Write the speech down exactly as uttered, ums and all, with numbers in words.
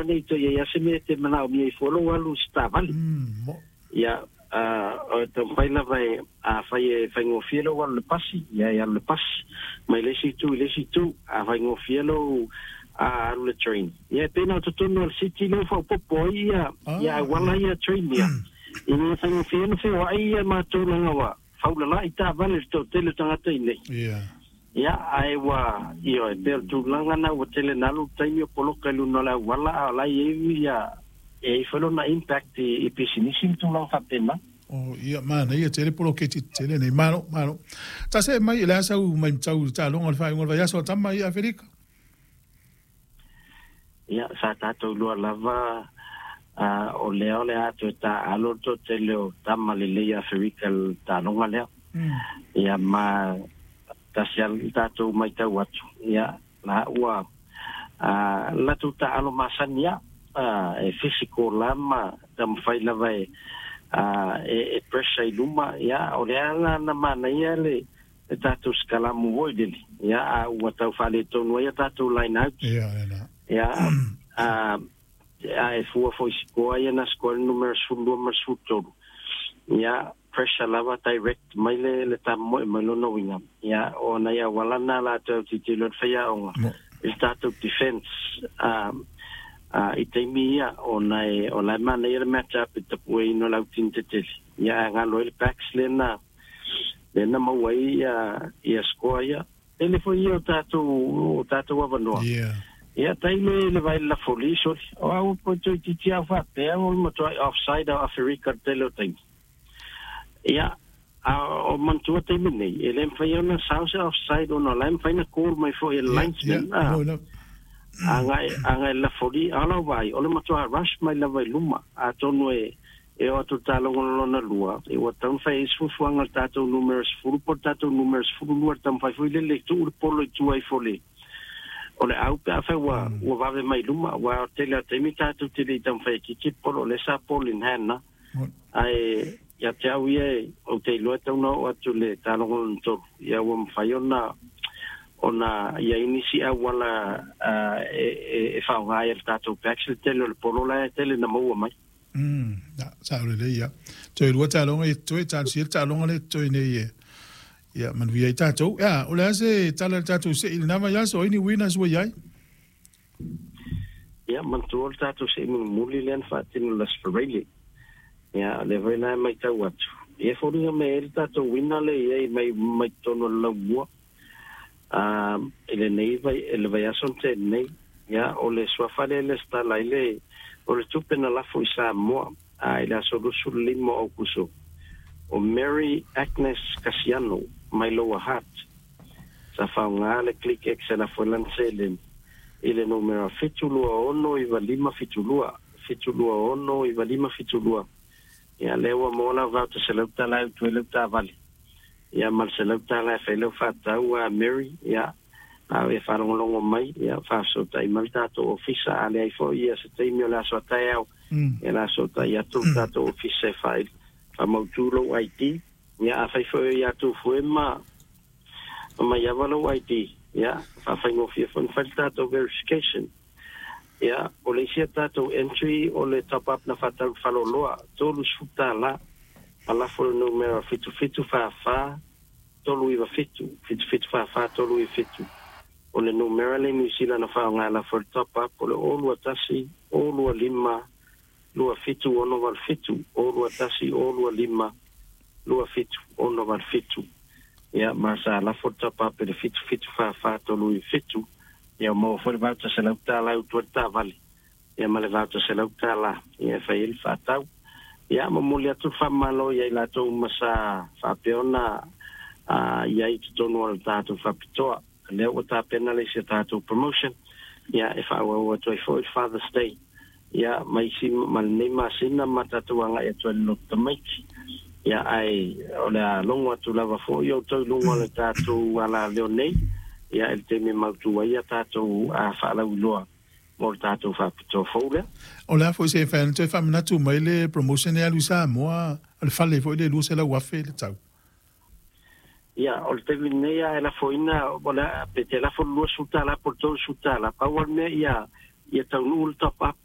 Aua nei toe i ai se mea e te manaomia ai fua lou alu i se taavale. Ia, o e taumafai lava e, afai e faigofie lou alu i le pasi, ia e alu i le pasi, mai le isi itu i le isi itu. A faigofie lou alu i le train, ia e pei ona o totonu o le city lea ua faaopoopo ai ia, ia auala ia train ia, ina ia faigofie ai ona feoai ia matou leaga ua faulala'i taavale i le toatele o tagata i nei. Ia, ae ua, ioe, pei o le tulaga lena ua tele na alu le taimi o poloka i luga o le auala, a o la e i ai ia, e i ai foi lona impact i, i pisinisi ma tulaga faapena. Oh, ia, manaia tele poloketi tetele nei. Malo, malo. Ta see mai i le asa u mai matau i le taaloga o le faaiuga o le vaiaso a tama ia Aferika. Ia, sa tatou lua lava, a, o lea o le a toe taaalo le toatele o tama lelei Aferika i le taaloga lea. Ia, ma tasi lava le tatou matau atu, ia, la ua a, latou taaalo masani lava, a, e physical la ma taumafai lava e, a, e, e pressure i luma. Ia, o lea la na manaia le le tatou sikalamu foi lele, ia, a ua tau faaletonu ai a tatou line out. Ia, lena. Ia, a, a e fua foi i sikoa ia na sikoa le numera sefululua ma le sefulutolu. Ia, pressure lava direct mai le le tamoe mai lona uiga. Ia, o nai auala na latou tilotilo ai le faiaoga i le tatou defense a, a, i taimi ia, ona e, o la e manaia le match up i le tapueina o le autini tetele. Ia, ae galo ai le backs lea na, lea na maua ai ia, ia score ia. Tele foi ia o tatou, o tatou avanoa. Yeah. Ia, tailo i le vai le lafoli, soli. O au po toeitiiti au faapea o le matuai offside o Aferika i le tele o taimi. Ia, a o manatua taimi nei, e le mafai ona sao se offside ona o la e mafai ona call mai foi e le Yeah, linesman, yeah, a. mo ina. Agai, agai le lafoli, a o lau vaai, o le matua rush mai lava i luma, atonu e, e oo atu i le taaloga lona lua, e ua tatau ona fai ai se fuafuaga i le tatou numera sefulu po o le tatou numera sefululua i le taumafai foi lele e tuu le polo i tua ifo o le, o le au pe afai ua, ua vave mai i luma, aua o le tele o taimi tatou te le i taumafai e kiki le polo, o lea sa ball in hand na. Ae ia te au ia, e, ou te iloa e tatau ona oo atu i le taaloga lona tolu, ia ua mafai ona, ona i ai nisi auala e, e, e faaaoga ai e le tatou backs le tele o le polo la e tele na maua mai. Mm, na, sao lelei ia. Toe lua taaloga i toe talosia le taaloga lea e totoe nei e. Ia, manuia ai tatou. Ia, o le a se tala i le tatou sei i lena vaiaso, o ai ni winners ua i ai? Ia, manatua o le tatou sei mulimuli lea na faatino i le Aso Faraile. Ia, o lea foi la e matau atu, ia e foliga mai ai le tatou winner lea e i ai mai, mai totonu o le laumua, a, i lenei vai, i le vaiaso na tea nei. Ia, o le suafa lea e lesitala ai le, o le tupe na lafo i Samoa, a, i le aso luasefulu lima o Aokuso, o Mary Agnes Kasiano mai Lower Hutt, sa faaaoga le Click X e lafo ai lana seleni i le numera fitu lua ono iva lima fitu lua, fitu lua ono iva lima fitu lua. Ia, lea ua maua lau voucher selau tala e utu ai lau taavale, ia, ma le selau tala e fai ai lau faatau a Mary. Ia, a o e faalogologo mai, ia, faafesootai mai le tatou ofisa, a leai foi ia se taimi o le aso a taeao, ia, o le a fesootai atu le tatou ofisa e faa faamautu lou I D. Ia, afai foi o ia tou fue ma Maiava lou I D, ia, faafaigofie foi ona fai le tatou verification. Ia, o le isi a tatou entry o le top up na faatau i le faleoloa, tolu sefulu tala, ma lafo le numera fitu fitu fa fa tolu iva fitu, fitu fitu fa fa tolu iva fitu. O le numera le Niu Sila na faaaoga e lafo i le top up o le o lua tasi o lua lima lua fitu ono valu fitu, o lua tasi o lua lima lua fitu ono valu fitu. Ia, ma sa lafo le top up i le fitu fitu fa fa tolu iva fitu. Ia, ua maua foi le voucher selau tala e utu ai le taavale, ia, ma le voucher selau tala, ia, e fai ai le faatau. Ia, momoli atu le faamalo ia i latou uma sa faapea ona a, i ai i totonu o le tatou faapitoa. Lea ua tapena le isi a tatou promotion, ia, e faaauau atu ai foi le Father's Day, ia, ma isi ma lenei masina ma tatou agai atu ai i le loto tamaiti. Ia, ae o le a logo atu lava foi outou i luga o le tatou alaleo nei, ia, i le taimi e mautu ai a tatou a faalauiloa mo le tatou faapitoa fou lea. O le a foi se fai ona toe faamanatu mai le promotion e alu i Samoa, o le fale foi le lua selau afe le tau. Ia, o le taimi lenei a e lafoina, o le a, pe te lafo le luasefulu tala po o le tolu sefulu tala, pau lava le mea ia, ia taunuu le top up.